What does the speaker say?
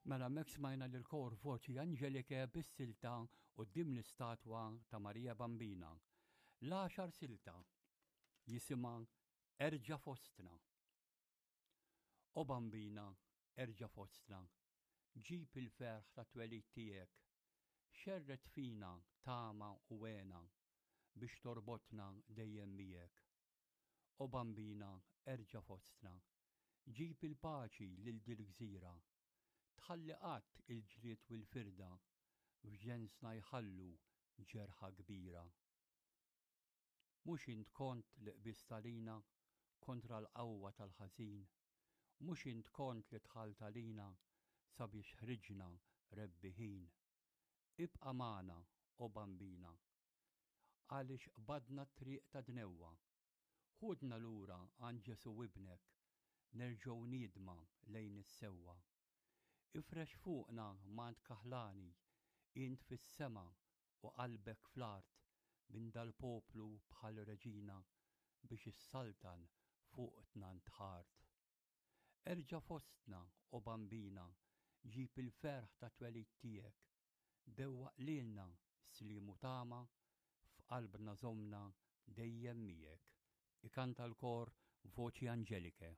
Mela hemmhekk smajna lill-kor Voci Angeliche bis-silta Quddiem l-istatwa ta' Marija Bambina. L-għaxar silta jisimha Erġa' Fostna. O Bambina, erġa' fostna, ġib il-ferħ tat-twelid tiegħek, xerred fina tama u hena biex torbotna dejjem miegħek. O Bambina, erġa' fostna, ġib il-paċi lil dil-gżira, tħalli qatt il-ġlied u l-firda f'ġensna jħallu ġerħa kbira. Mhux int kont li qbiżt għalina kontra l-qawwa tal-ħażin? Mhux int kont li dħalt għalina sabiex ħriġna rebbiħin? Ibqa' magħna, o Bambina, għaliex qbadna t-triq tad-dnewwa. Ħudna lura għand Ġesù Ibnek, nerġgħu niedma lejn is-sewwa. Ifrex fuqna mant kaħlani, int fis-sema u qalbek fl-art minn dal-poplu bħal reġina biex issaltan fuqtna ntħart. Erġa' fostna, o Bambina, ġib il-ferħ tat-twelid tiegħek, dewwaq lilna sliem u tama, f'qalbna żommna dejjem miegħek. Ikanta l-kor Voci Angeliche.